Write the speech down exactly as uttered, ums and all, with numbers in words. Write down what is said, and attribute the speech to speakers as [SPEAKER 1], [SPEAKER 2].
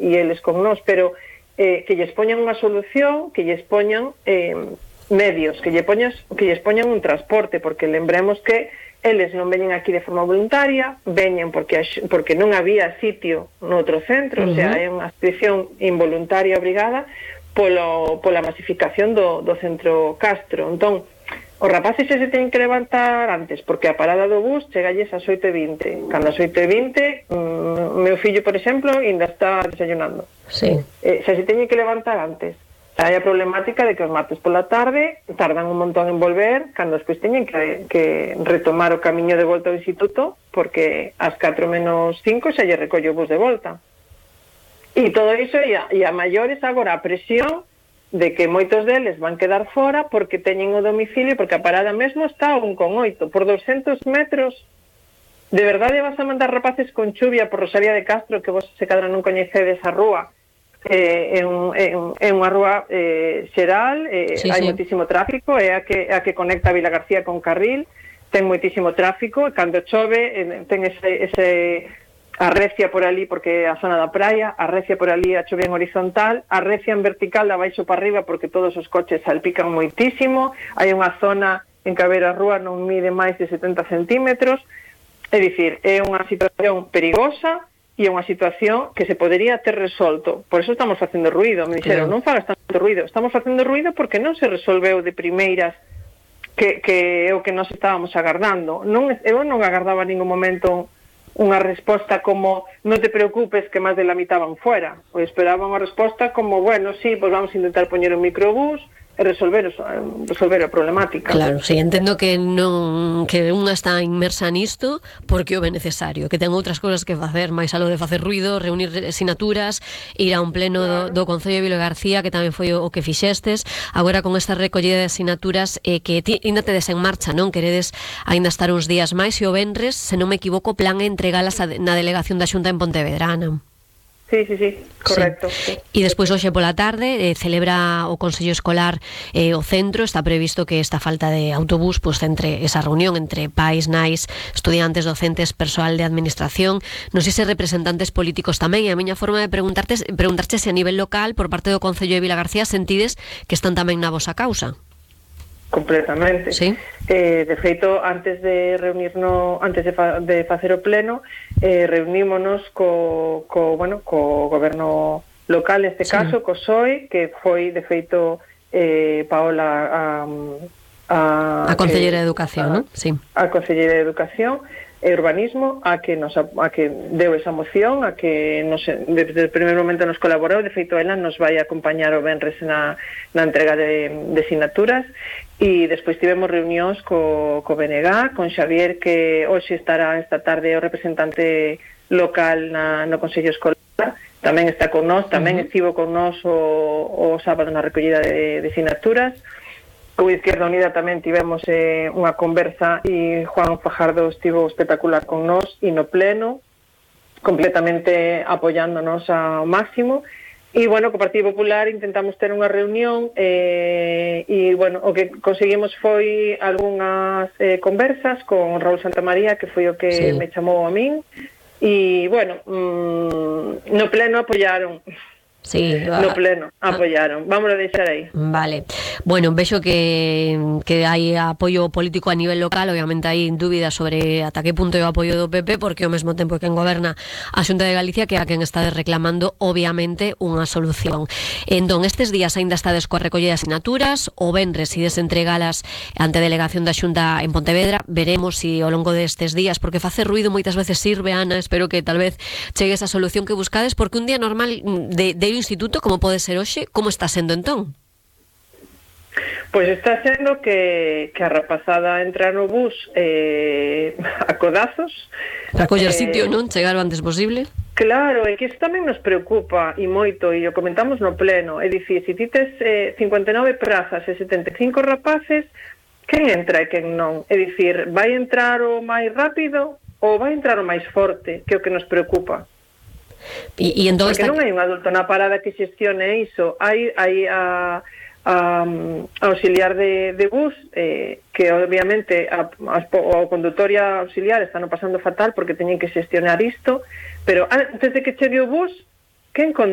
[SPEAKER 1] e eles con nós, pero eh, que lles poñan unha solución, que lles poñan eh, medios, que, lle poñas, que lles poñan un transporte, porque lembremos que eles non veñen aquí de forma voluntaria, veñen porque, porque non había sitio no outro centro, uh-huh. O sea, é unha adscripción involuntaria obrigada polo, pola masificación do, do centro Castro. Entón, os rapaces se teñen que levantar antes, porque a parada do bus chegalles ás oito e vinte. Cando ás oito e vinte, o meu fillo, por exemplo, ainda está desayunando.
[SPEAKER 2] Sí.
[SPEAKER 1] Eh, se se teñen que levantar antes. Hai a problemática de que os martes pola tarde tardan un montón en volver, cando despois teñen que, que retomar o camiño de volta ao instituto, porque ás catro menos cinco xa lle recolle o bus de volta. E todo iso, e a, e a maiores agora a presión de que moitos deles van quedar fora porque teñen o domicilio, porque a parada mesmo está a un con oito, por douscentos metros. De verdade vas a mandar rapaces con chuvia por Rosalía de Castro, que vos se cadra non coñecedes a rúa, eh, é, un, é, un, é unha rúa eh, xeral, eh,
[SPEAKER 2] sí,
[SPEAKER 1] hai
[SPEAKER 2] sí.
[SPEAKER 1] moitísimo tráfico, é a que, a que conecta a Vila García con Carril, ten moitísimo tráfico, e cando chove eh, ten ese... ese arrecia por ali porque é a zona da praia, arrecia por ali a chove en horizontal, arrecia en vertical da baixo para arriba porque todos os coches salpican moitísimo, hai unha zona en que a ver a rúa non mide máis de setenta centímetros, é dicir, é unha situación perigosa e é unha situación que se podería ter resolto. Por eso estamos facendo ruido, me dixeron, non fagas tanto ruido, estamos facendo ruido porque non se resolveu de primeiras que, que é o que nos estábamos agardando. Non, eu non agardaba en ningún momento unha resposta como non te preocupes que máis de la mitad van fuera. Eu esperaba unha resposta como, bueno, sí, pues vamos a intentar poñer un microbús e resolver, resolver a problemática.
[SPEAKER 2] Claro, sí, entendo que non que unha está inmersa nisto porque o é necesario, que ten outras cousas que facer, máis algo de facer ruido, reunir sinaturas, ir a un pleno do, do Concello de Vila García, que tamén foi o, o que fixestes, agora con esta recollida de sinaturas eh, que ti, ainda tedes en marcha, non? Queredes ainda estar uns días máis e o venres, se non me equivoco, plan é entregalas a, na delegación da Xunta en Pontevedra, Ana.
[SPEAKER 1] Sí, sí, sí, correcto.
[SPEAKER 2] Sí. E despois hoxe pola tarde eh, celebra o Consello Escolar eh, o centro, está previsto que esta falta de autobús pues, entre esa reunión entre pais, nais, estudiantes, docentes, persoal de administración, non sei se representantes políticos tamén, e a miña forma de preguntarte preguntarche se a nivel local, por parte do Concello de Vila García, sentides que están tamén na vosa causa.
[SPEAKER 1] Completamente.
[SPEAKER 2] Sí.
[SPEAKER 1] Eh, de feito, antes de reunirnos, antes de, fa, de facer o pleno, eh, reunímonos co, co, bueno, co goberno local, neste sí. caso, co P S O E, que foi, de feito, eh, Paola a, a,
[SPEAKER 2] a Concelleira
[SPEAKER 1] eh,
[SPEAKER 2] de Educación,
[SPEAKER 1] a,
[SPEAKER 2] non? Sí.
[SPEAKER 1] A Concelleira de Educación e Urbanismo, a que nos a que deu esa moción, a que nos, desde o primeiro momento nos colaborou. De feito, ela nos vai acompañar o venres na, na entrega de, de sinaturas, e despois tivemos reunións co, co B N G, con Xavier, que hoxe estará esta tarde o representante local na, no Consello Escolar, tamén está con nós, tamén uh-huh. estivo con nós o, o sábado na recollida de, de sinaturas. Co Izquierda Unida tamén tivemos eh, unha conversa, e Juan Fajardo estivo espectacular con nós e no pleno, completamente apoyándonos ao máximo. E, bueno, co Partido Popular intentamos ter unha reunión eh, e, bueno, o que conseguimos foi algunhas eh, conversas con Raúl Santamaría, que foi o que sí. me chamou a min, e, bueno, mmm, no pleno apoyaron.
[SPEAKER 2] Sí,
[SPEAKER 1] no pleno, apoyaron. Vamos a deixar aí.
[SPEAKER 2] Vale. Bueno, vexo que, que hai apoio político a nivel local. Obviamente hai dúbidas sobre ata que punto é o apoio do P P, porque ao mesmo tempo que quen goberna a Xunta de Galicia, que é a quen está reclamando, obviamente, unha solución. Entón, estes días aínda estades coa recollida de asinaturas, o venres ides entregalas ante a delegación da Xunta en Pontevedra. Veremos se si ao longo destes días, porque facer ruido moitas veces sirve, Ana, espero que tal vez chegue esa solución que buscades, porque un día normal de, de instituto, como pode ser hoxe, como está sendo entón?
[SPEAKER 1] Pois está sendo que, que a rapazada entra no bus eh, a codazos
[SPEAKER 2] para coller eh, sitio, non? Chegar o antes posible.
[SPEAKER 1] Claro, é que isto tamén nos preocupa e moito, e o comentamos no pleno. É dicir, se ti tes eh, cincuenta e nove prazas e setenta e cinco rapaces, quen entra e quen non? É dicir, vai entrar o máis rápido ou vai entrar o máis forte, que é o que nos preocupa.
[SPEAKER 2] E, e entón
[SPEAKER 1] porque
[SPEAKER 2] está...
[SPEAKER 1] non hai un adulto na parada que xestione iso. Hai, hai a, a, a auxiliar de, de bus eh, que obviamente a, a, a condutor e a auxiliar están pasando fatal porque teñen que xestionar isto, pero antes de que chegue o bus, quen controla